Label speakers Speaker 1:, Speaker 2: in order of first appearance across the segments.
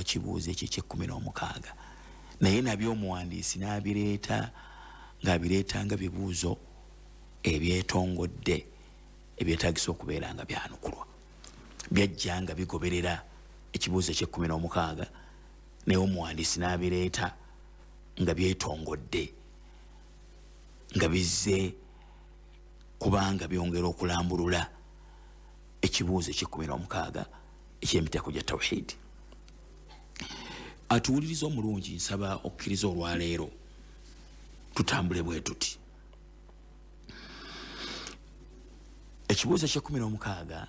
Speaker 1: kibuuzo ekyo ekyekumi n'omukaaga, naye nabyo omuwandiisi n'abireeta ng'abireeta nga bibuuzo ebyetongodde ebyetagisa okubeera nga byanukulwa. Byajja nga bigoberera ekibuuzo ekyekumi n'omukaaga, naye omuwandiisi n'abireeta nga byetongodde, nga bizze kubanga byongera okulambulula ekibuuzo ekyekumi n'omukaaga ekyemiteeko gya tawhidi. Atuwuliriza omulungi, nsaba okkiriza olwaleero tutambule bwe tuti. Ekibuuzo ekyekumi n'omukaaga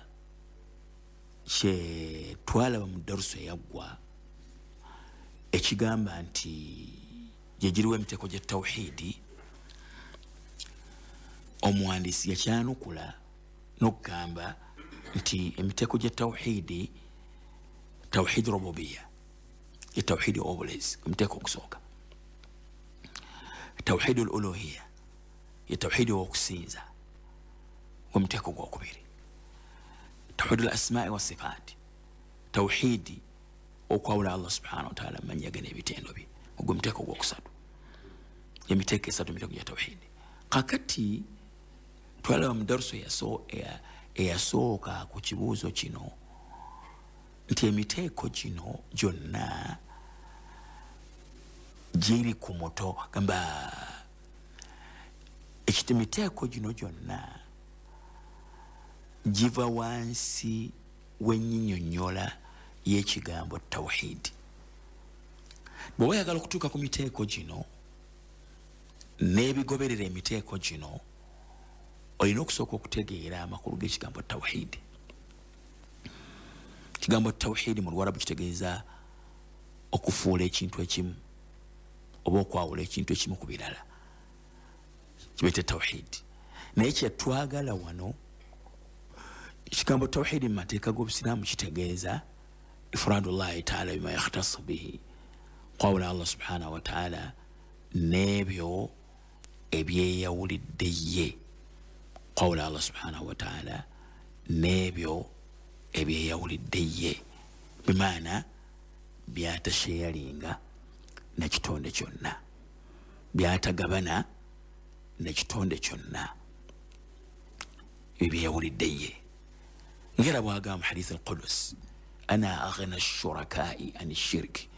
Speaker 1: kye twalaba mu darusu eyaggwa, ekigamba nti gyegiriwo emiteeko gya tawhidi, omuwandiisi yakyanukula n'okugamba nti emiteeko gya tawhidi: tawhidi rububiya, ye tawhidi obulezi, omuteeko ogusooka; tawhidi l uluhiya, ye tawhidi owokusinza, omuteeko gwokubiri; tawhidi l asmai wasifaati, tawhidi okwawula Allah subhanahu wataala mumanya ge n'ebitendo bye, ogwo muteeko gwokusatu. Emiteeko esatu, emiteeko gya tawhidi. Kakati twalaba mu darusu eyasooka ku kibuuzo kino nti emiteeko gino gyonna giri ku muto gamba ekiti, emiteeko gino gyonna giva wansi w'ennyinyonnyola y'ekigambo tawhidi. Bw'oba oyagala okutuuka ku miteeko gino n'ebigoberera emiteeko gino, olina okusooka okutegeera amakulu g'ekigambo tawhidi. Ekigambo tawhidi mu Luwarabu kitegeeza okufuula ekintu ekimu oba okwawula ekintu ekimu ku birala, kibeete tawhidi. Naye kyetwagala wano, ekigambo tawhidi mu mateeka g'obusiraamu kitegeeza ifradullahi taala bima yakhtasu bihi, kwawula Allah subhanahu wataala n'ebyo ebyeyawulidde ye, kwawula Allah subhanahu wataala n'ebyo ebyeyawulidde ye, bimaana byatasheyalinga nakitonde kyonna, byatagabana nakitonde kyonna, ebyo byeyawulidde ye. Ngera bwagamba hadith al qudus: "Ana aghna shurakai an shirki",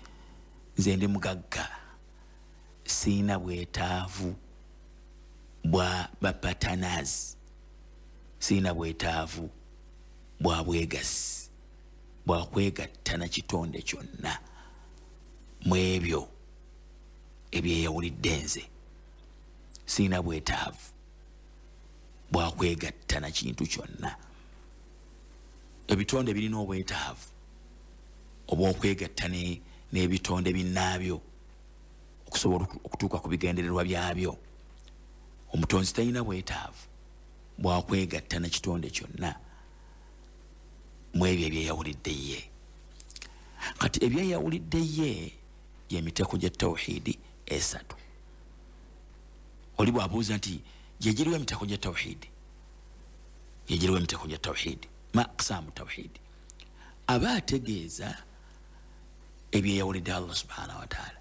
Speaker 1: nze ndi mugagga, siina bwetaavu bwa bapatanazi, siina bwetaavu bwa bwegasi bwakwegatta na kitonde kyonna mu ebyo ebyeyawulidde. Nze siina bwetaavu bwakwegatta na kintu kyonna. Ebitonde birina obwetaavu obwokwegatta n'ebitonde binnaabyo okusobola okutuuka ku bigendererwa byabyo. Omutonzi talina bwetaavu bwakwegatta na kitonde kyonna mu ebyo ebyeyawulidde ye. Kati ebyeyawulidde ye yemiteeko gya tawhidi esatu. Oli bwabuuza nti gyegiriwo emiteeko gya tawhidi, gyegiriwo emiteeko gya tawhidi, ma aqsaamu tawhidi, aba ategeeza ebyeyawulidde Allah subhanahu wataala,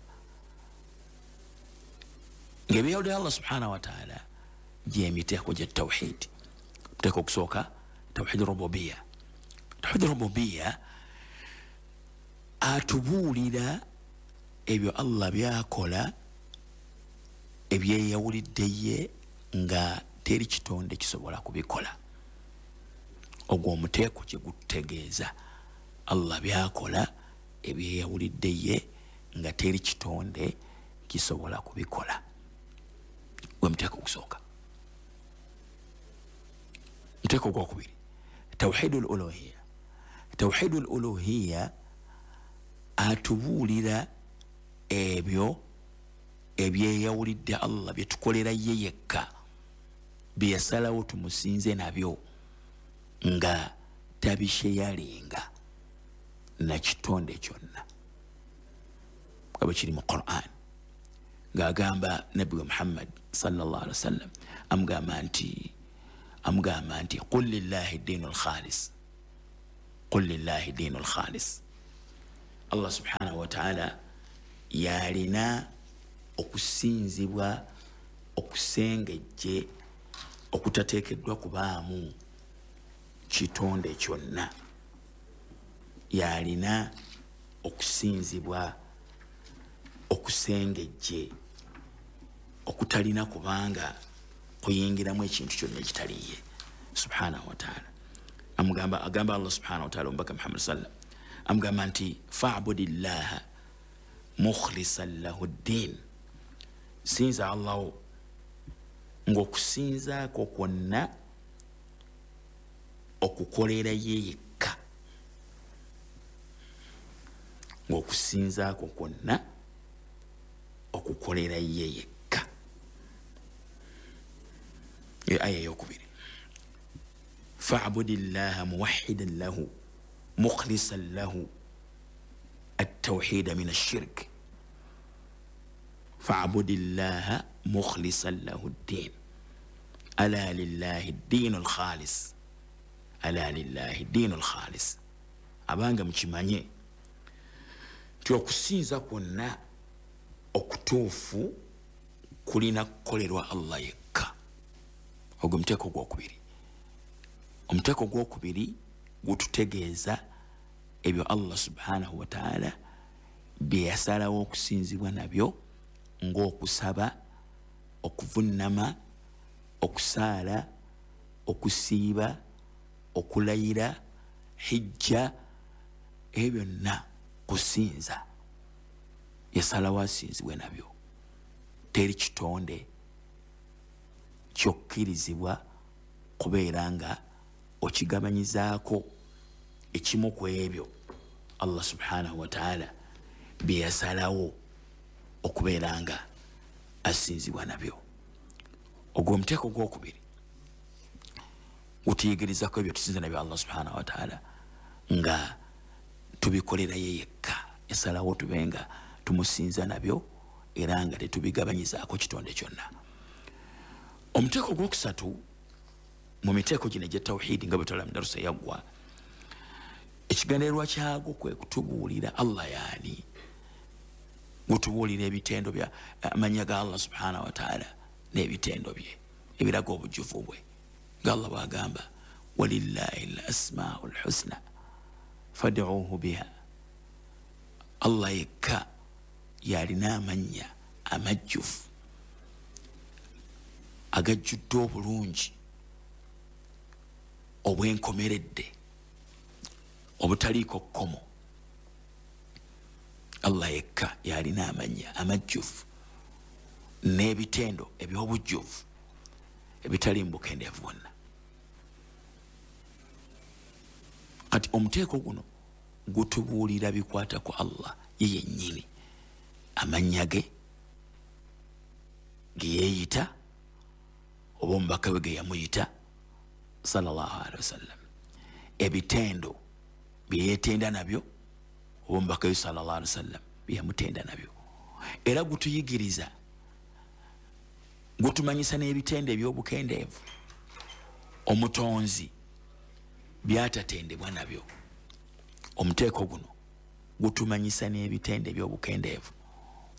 Speaker 1: ngaebyeyawulidde Allah subhanahu wataala gyemiteeko gya tawhidi. Muteeko okusooka, tawhidi rububiya. Tawhidi rububiya atubuulira ebyo Allah byakola ebyeyawulidde ye nga teri kitonde kisobola kubikola. Ogwo omuteeko kyegututegeeza, Allah byakola ebyeyawulidde ye nga teri kitonde kisobola kubikola, gwe muteeko ogusooka. Muteeko ogwokubiri, tawhidu l uluhiya. Tawhidu l uluhiya atubuulira ebyo ebyeyawulidde Allah byetukolera ye yekka, byeyasalawo tumusinze nabyo nga tabisheyalinga nakitonde kyonna, nga bwe kiri mu Quran ng'agamba nabbi we Muhammad sallallahu alaihi wasallam, amugamba nti "Qul lillahi diinu lkhalis, qul lillahi diinu lkhalis." Allah subhanahu wataala yalina okusinzibwa okusengejje okutateekeddwa kubaamu kitonde kyonna. Yalina okusinzibwa okusengejje okutalina kubanga kuyingiramu ekintu kyonna ekitaliye subhanahu wataala. Amugamba, agamba Allah subhanahu wataala omubaka Muhammad sallam amugamba nti fabudillaha mukhlisan lahu ddin, sinza Allahu ng'okusinzaako kwonna okukolera ye yekka, ng'okusinzaako kwonna okukolera ye yekka. Aya eyokubiri, fabudillaha muwahidan lahu mukhlisan lahu التوحيد من الشرك. فاعبد الله مخلصا له الدين، ألا لله الدين الخالص، ألا لله الدين الخالص. Abanga mukimanye nti okusinza kwonna okutuufu kulina kukolerwa Allah yekka. Ogwo muteeko gwokubiri. Omuteeko gwokubiri gututegeeza ebyo Allah subhanahu wataala bye yasalawo okusinzibwa nabyo, ng'okusaba, okuvunnama, okusaala, okusiiba, okulayira, hijja, ebyo byonna kusinza. Yasalawo asinzibwe nabyo. Teri kitonde kyokkirizibwa kubeera nga okigabanyizaako ekimu ku ebyo Allah subhanahu wataala bye yasalawo okubeera nga asinzibwa nabyo. Ogwo omuteeko gwokubiri gutuyigirizako ebyo tusinza nabyo Allah subhanahu wataala nga tubikolera ye yekka. Yasalawo tube nga tumusinza nabyo era nga tetubigabanyizaako kitonde kyonna. Omuteeko gwokusatu mu miteeko gino egya tawhidi nga bwe twalaba mu darusa yaggwa, ekigendererwa kyagwo kwe kutubuulira Allah yaani, gutubuulira ebitendo bya amannya ga Allah subhanahu wataala n'ebitendo bye ebiraga obujjuvu bwe, nga Allah bw'agamba walillahi l asmau lhusna fad'uuhu biha. Allah yekka yalina amannya amajjuvu agajjudde obulungi obwenkomeredde obutaliiko kkomo. Allah yekka yalina amannya amajjuvu n'ebitendo eby'obujjuvu ebitali mu bukendeevu bwonna. Kati omuteeko guno gutubuulira bikwata ku Allah ye yennyini, amannya ge ge yeeyita oba omubaka we ge yamuyita sallallahu alaihi wasallam, ebitendo bye yeetenda nabyo oba omubaka we sallallahu alaihi wasallam bye yamutenda nabyo. Era gutuyigiriza, gutumanyisa n'ebitendo eby'obukendeevu omutonzi byatatendebwa nabyo. Omuteeko guno gutumanyisa n'ebitendo eby'obukendeevu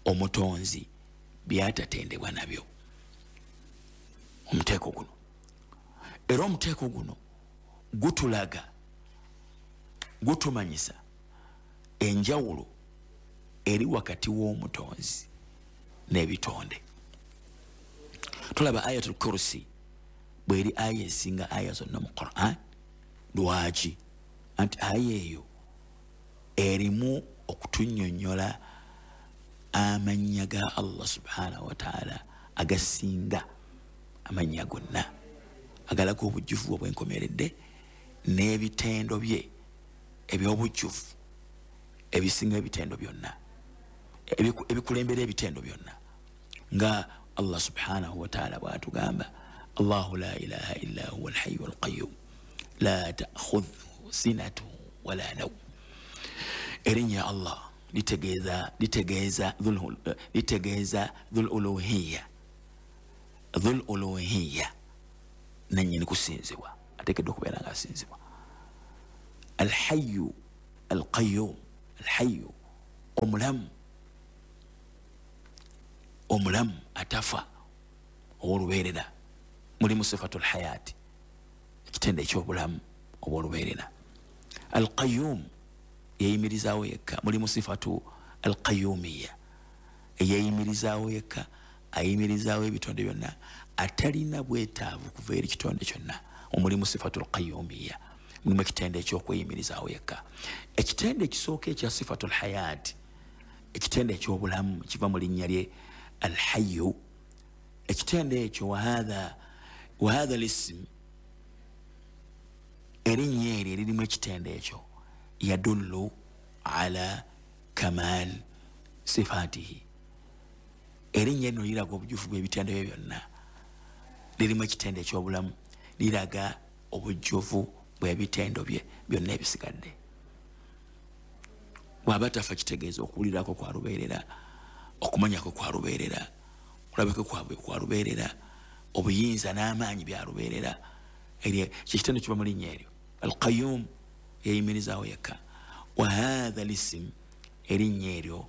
Speaker 1: omutonzi byatatendebwa nabyo. Omuteeko guno era omuteeko guno gutulaga, gutumanyisa enjawulo eri wakati w'omutonzi n'ebitonde. Tulaba ayatul kursi bweri aya esinga aya zonna mu Quran. Lwaki? Anti aya eyo erimu okutunnyonnyola amannya ga Allah subhanahu wataala agasinga amannya gonna, agalaga obujjuvu obwenkomeredde n'ebitendo bye eby'obujjuvu ebisinga ebitendo byonna, ebikulembera ebitendo byonna, nga Allah subhanahu wataala bw'atugamba Allahu la ilaha illa huwa alhayyu alqayyum la ta'khudhuhu sinatun wala nawm. Erinnya Allah litegeeza dhul uluhiyya, dhul uluhiyya, nannyini kusinzibwa, ateekeddwa okubeera nga asinzibwa. Alhayyu alqayyum, alhayyu Omulamu, omulamu atafa ow'olubeerera, mulimu sifatu lhayaati, ekitendo ekyobulamu obw'olubeerera. Alqayum, yeyimirizaawo yekka, mulimu sifatu alqayumiya, eyeyimirizaawo yekka, ayimirizaawo ebitonde byonna, atalina bwetaavu kuva eri kitonde kyonna. Omulimu sifatu lqayumiya, mulimu ekitendo ekyokweyimirizaawo yekka. Ekitendo ekisooka ekya sifatu lhayaati, ekitendo ekyobulamu, kiva mu linnya lye alhayu. Ekitendo ekyo, wahatha lism, erinnya eryo eririmu ekitendo ekyo, yadullu ala kamal sifatihi, erinnya lino liraga obujufu bw'ebitendo bye byonna. Lirimu ekitendo ekyobulamu, liraga obujjuvu bw'ebitendo bye byonna ebisigadde. Bw'aba tafa, kitegeeza okuwulirako kwa lubeerera, okumanyako kwa lubeerera, okulabako kwabwe kwa lubeerera, obuyinza n'amaanyi bya lubeerera. Kyekitendo kiva mu linnya eryo Alqayum, yeyimirizaawo yekka. Wahatha lisim, erinnya eryo,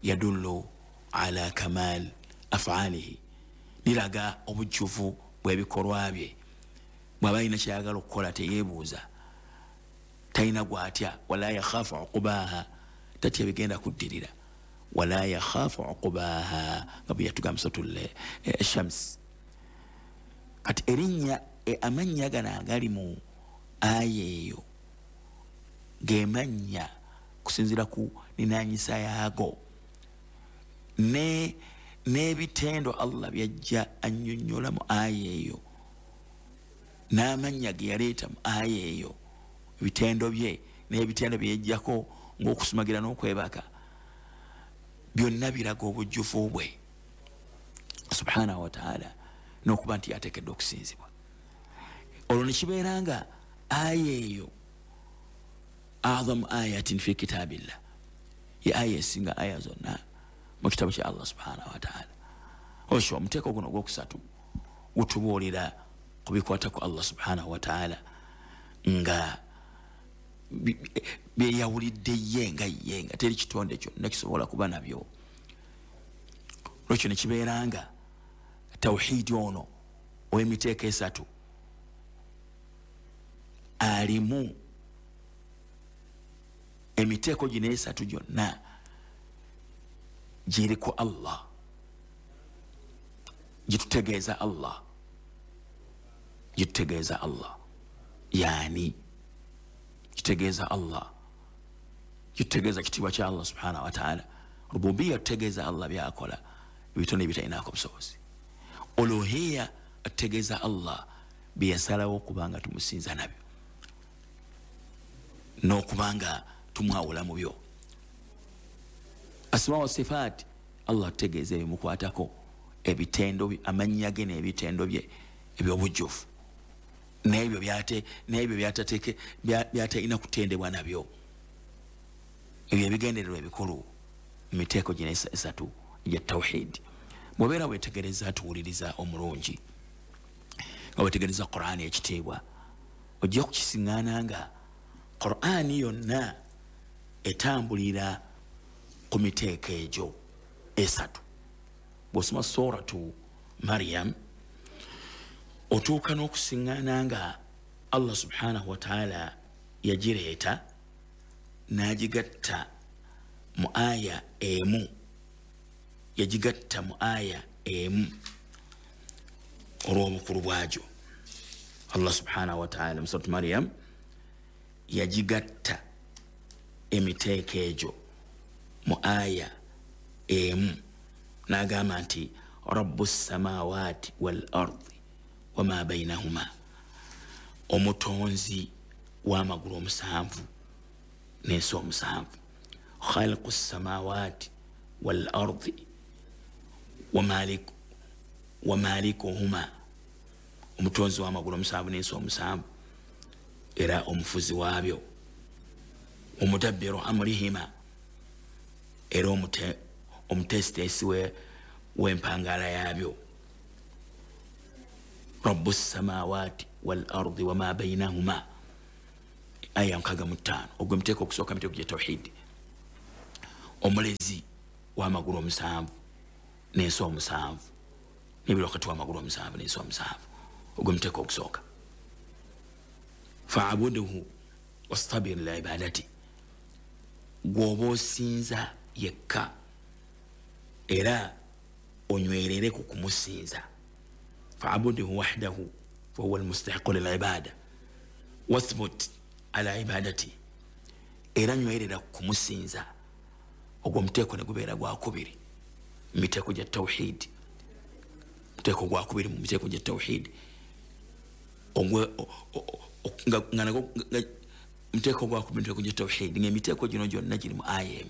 Speaker 1: yadullu ala kamal afaalihi, liraga obujjuvu bw'ebikolwa bye. Bw'aba alina kyayagala okukola teyeebuuza, talina gwatya. Wala yakhafu uqubaha, tatya bigenda kuddirira. Wala yakhafu uqubaha, nga bwe yatugamba suratul Shams. Kati erinnya, amannya gano agali mu aya eyo gemannya kusinziira ku ninanyisa yaago n'ebitendo Allah byajja annyonnyola mu aya eyo, n'amannya ge yaleeta mu aya eyo, ebitendo bye n'ebitendo byeyajjako ng'okusumagira n'okwebaka, byonna biraga obujjuvu bwe subhanahu wataala, n'okuba nti yateekeddwa okusinzibwa. Olwo nekibeera nga aya eyo azamu ayatin fi kitabillah, ye aya esinga aya zonna mu kitabo kya Allah subhanahu wataala. Osho omuteeko guno ogwokusatu gutubuulira ku bikwata ku Allah subhanahu wataala nga byeyawulidde ye nga ye, nga teri kitonde kyonna kisobola kuba nabyo. Lwekyo nekibeera nga tawhidi ono ow'emiteeko esatu alimu emiteeko gino esatu gyonna giri ku Allah, gitutegeeza Allah, gitutegeeza Allah yani kitegeeza Allah, kitutegeeza kitiibwa kya Allah subhanahu wataala. Rububiya tutegeeza Allah byakola ebitone ebitalinako busobozi. Uluhiya atutegeeza Allah byeyasalawo okubanga tumusinza nabyo n'okubanga tumwawula mu byo. Asma wa sifaat, Allah atutegeeza ebimukwatako, ebitendo, amannya ge n'ebitendo bye ebyobujjuvu, n'ebyo n'ebyo byatalina kutendebwa nabyo. Ebyo ebigendererwa ebikulu mu miteeko gino esatu egya tawhid. Bw'obeera weetegereza, tuwuliriza omulungi, nga weetegereza Qur'ani ekitiibwa, ojja kukisiŋŋaana nga Qur'ani yonna etambulira ku miteeko egyo esatu. Bw'osoma suratu Maryam otuuka n'okusiŋŋaana nga Allah subhanahu wataala yagireeta n'agigatta mu aya emu, yagigatta mu aya emu olw'obukulu bwagyo. Allah subhanahu wataala mu suratu Maryam yagigatta emiteeko egyo mu aya emu, n'agamba nti rabbu samawati wal ardi wama bainahuma, omutonzi w'amagulu omusanvu n'ensi omusanvu. Khaliqu samawati wal ardi wa malikuhuma, omutonzi w'amagulu omusanvu n'ensi omusanvu era omufuzi waabyo. Omudabbiru amrihima, era omuteesiteesi w'empangala yaabyo. Rabbu samawati wal ardi wama bainahuma, aya 65. Ogwo emiteeko okusooka, emiteeko gya tawhidi. Omulezi w'amagulu 7 n'ensi 7, n'ebiri wakati w'amagulu 7 n'ensi 7. Ogwo muteeko ogusooka. Faabuduhu wastabir liibadati, gwoba osinza yekka era onywerere ku kumusinza. Faabuduhu wahdahu fahuwa almustahiqu lilibada wathbut ala ibadati, era nywerera ku kumusinza. Ogwo muteeko ne gubeera gwakubiri mu miteeko gya tawhidi, muteeko gwakubiri mu miteeko gya tawhidi, muteeko gwakubiri mu miteeko gya tawhidi, ngaemiteeko gino gyonna giri mu aya emu.